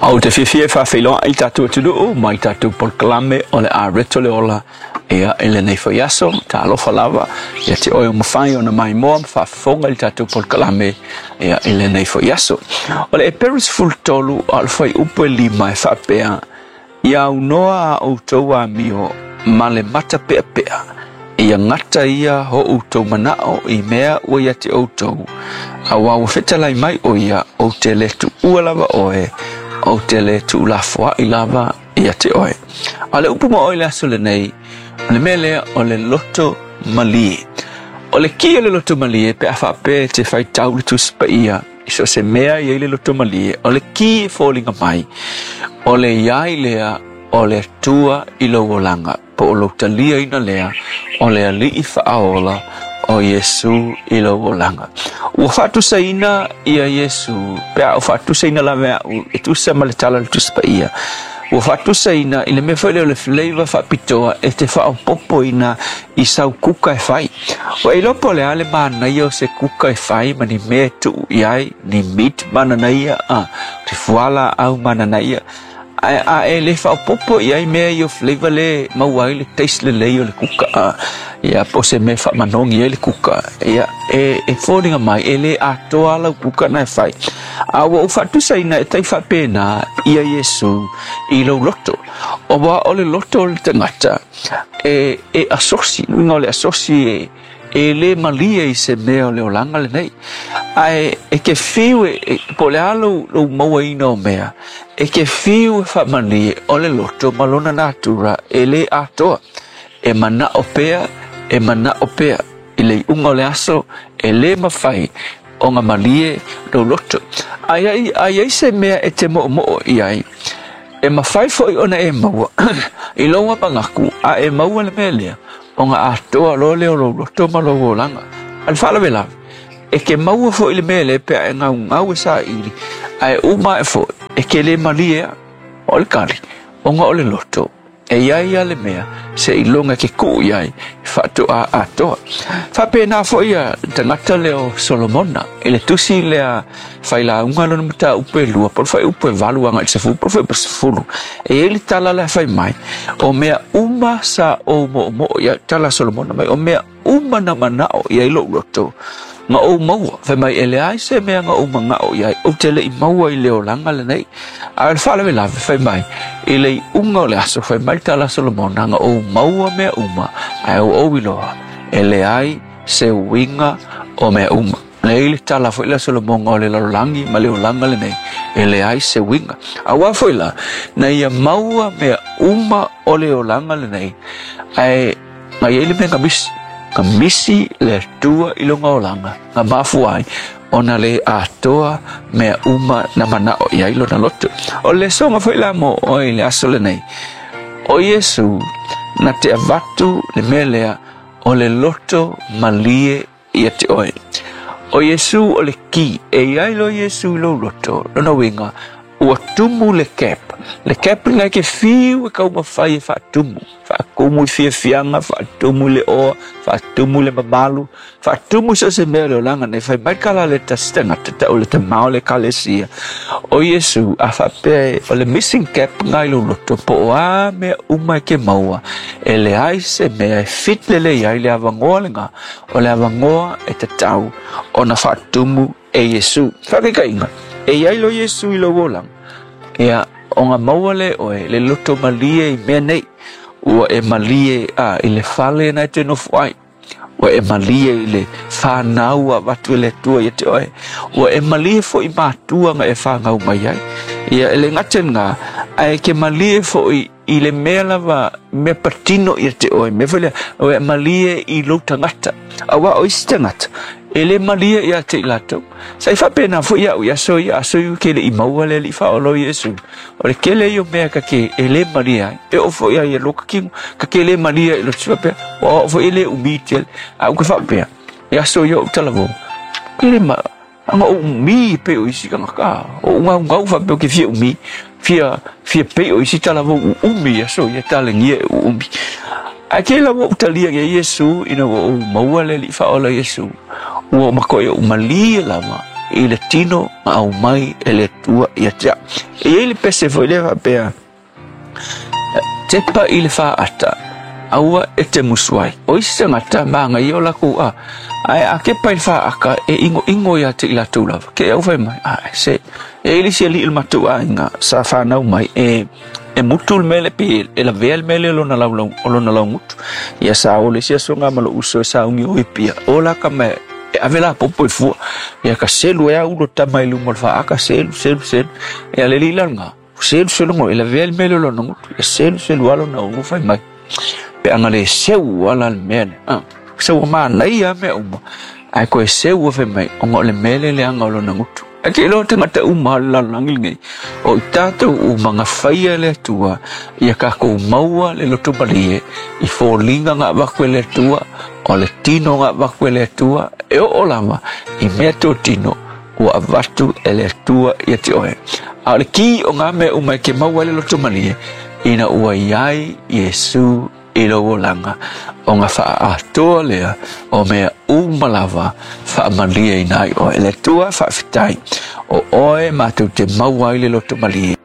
Ou te fiafia e faafeiloai i tatou atunuu ma i tatou polokalame o le a reto le ola ia i lenei foi aso. Talofa lava ia te oe o mafai ona maimoa ma faafofoga i le tatou polokalame ia i lenei foi aso. O le Eperu 13 a o le fuaiupu e 5 e faapea, Ia aunoa a outou amio ma le matapeapea, ia gata ia o outou manao i mea ua ia te outou, auā ua fetalai mai ʻo ia, ou te lē tuua lava ʻoe, ou te lē tuulafoaʻi lava ia te oe. A o le upu ma oe i le aso lenei, o le mea lea o le loto malie. O le ki o le loto malie pe a faapea e te faitau le Tusi Paia i so o se mea e i ai le loto malie, o le ki e foliga mai, o le i ai lea o le Atua i lou olaga, po o lou taliaina lea o le Alii Faaola o Iesū i lou olaga. Ua faatusaina ia Iesū, pe a ou faatusaina lava e a'u e tusa ma le tala o le Tusi Paia, ua faatusaina i le mea foi lea o le flavor faapitoa e te faaopoopoina i sau kuka e fai. Ua e iloa po o le a le manaia o se kuka e fai ma ni mea e tuu i ai, ni meat mananaia, a, ni fualaau mananaia, Ae a e le faaopoopo i ai mea ia o flavor lea e maua ai le taste lelei o le kuka, ia po o se mea e faamanogi ai le kuka, ia e foliga mai e le atoa lau kuka na e fai. A ua ou faatusaina e tai faapena ia Iesu i lou loto. Aua o le loto o le tagata e asosi, uiga o le asosi e E le malie i se mea o le olaga lenei, ae e te fiu e, po o le a lou, lou mauaina o mea, e te fiu e faamalie o le loto ma lona natura e le atoa. E manao pea, e manao pea, i le iuga o le aso, e le mafai ona malie lou loto. A i ai se mea e te moomoo i ai, e mafai foi ona e maua i lou manatu a e maua le mea lea, ona atoa loa lea o lou loto ma lou olaga. A o le faalavelave, e te maua foi le mea lea pe a e gaugau e saili, ae uma ae foi, e te le malie a. O le tali, ona o le loto, e i ai a le mea seiloga e te tuu i ai faatoa atoa. Faapena foi a le tagata lea o Solomona i le tusi lea Failauga lona mataupu e 2, po o le fuaiupu e 8 agai i le 10, po o le fuaiupu e 10. E i ai le tala la e fai mai, o mea uma sa ou moomoo i ai, tala a Solomona mai, o mea uma na manao i ai lou loto, na ou maua. Fai mai, e leai se mea na ou manao i ai, ou te le i maua i le olaga lenei. A o le faalavelave, fai mai, i le iuga o le aso, fai mai le tala a Solomona, na ou maua mea uma, ae ua ou iloa, e leai se uiga o mea uma. Nei le tala foi lea Solomona o le lalolagi ma le olaga lenei, e leai se uiga. Auā foi la, na ia maua mea uma o le olaga lenei, ae na i ai le mea na misi, na misi le Atua i lona olaga, na mafua ai ona le atoa mea uma na manao i ai lona loto. O le lesoga foi la mo oe i le aso lenei, o Iesu na te avatu le mea lea o le loto malie ia te oe. O Iesu o le ki, e i ai loa Iesu i lou loto, lona uiga, ua tumu le cap. Le cap lena e te fiu e taumafai e faatumu, faatumu i fiafiaga, faatumu i le oa, faatumu i le mamalu, faatumu i so o se mea o le olaga nei. Fai mai le tala a le tasi tagata, tau le tama o le ekalesia, o Iesu, a faapea o le missing cap lena i lou loto, po o a mea uma e te maua, e leai se mea e fit lelei ai le avanoa lena O le avanoa e tatau ona faatumu e Iesu. Faataitaiga, e i ai loa Iesu i lou olaga, ia, ona maua lea e oe le loto malie i mea nei. Ua e malie a i le fale na e te nofo ai. Ua e malie i le whanau a avatu e le Atua ia te oe. Ua e malie foi i matua na e whanau mai ai. Ia, e le gata i lena, ae e te malie foi i le mea lava, mea patino ia te oe, mea foi lea, ua e malie i lou tagata. Auā o isi tagata, e le malie ia te i latou. Sa i faapena foi iaʻu i aso ia, aso ia ou te le i maua le Alii Faaola o Iesu. O le tele ia o mea ta te e le malie ai. E oo foi lava ia lua ta tino, ta te le malie ai i loto faapea, ua oo foi e le umi tele. Ae ou te faapea, i aso ia o ou talavou, e le ma, Ana ou umi pei o isi tagata, o ou gaugau faapea ou te fia umi, fia, fia pei o isi talavou uumi i aso ia talegia e uumi. Ae kei lava ou talia ia Iesu ina ua ou maua le Alii Faaola Iesu, ua ou matoia ou malie lava i le tino na aumai e le Atua ia te au. E i ai le pese foi lea faapea, Tepa i le faata, aua e te musu ai. O isi tagata magaia o lakou a, ae a kepa i le faata e igoigo ia te i latou lava. Ke au fai mai, a se, e i ai le isi alii o le matou aiga sa fanau mai, e e mutu le mea lea pe e lavea le mea lea o lona laulau, o lona laugutu. Ia sa o le isi aso nga ma lou uso e sauni o i Apia, o la ka mea e ave lapopo i fua. Ia ka selu ai a ulo tama i luma o le faata, selu, selu, selu. Ia le alii la lena, selu selu ngo, e lavea le mea lea o lona gutu. Ia selu selu lava lona ulu fai mai. Pe ana le seu ala le mea lea. Ah, seu ua manaia lava mea uma, ae toe seu fai mai, ona o le mea lea leaga o lona gutu. Ae te iloa tagata uma o le lalolagi lenei, o i tatou uma na faia e le Atua ia tatou maua le loto malie i foliga na avatu e le Atua, o le tino na avatu e le Atua, e oo lava i mea totino ua avatu e le Atua ia te oe. A o le ki o ngā mea uma e ke maua ai le loto malie, ina ua i ai Iesu i lou olaga, ona faaatoa lea o mea uma lava faamalieina ai oe. Le Atua, faafetai, o oe matou te maua ai le loto malie.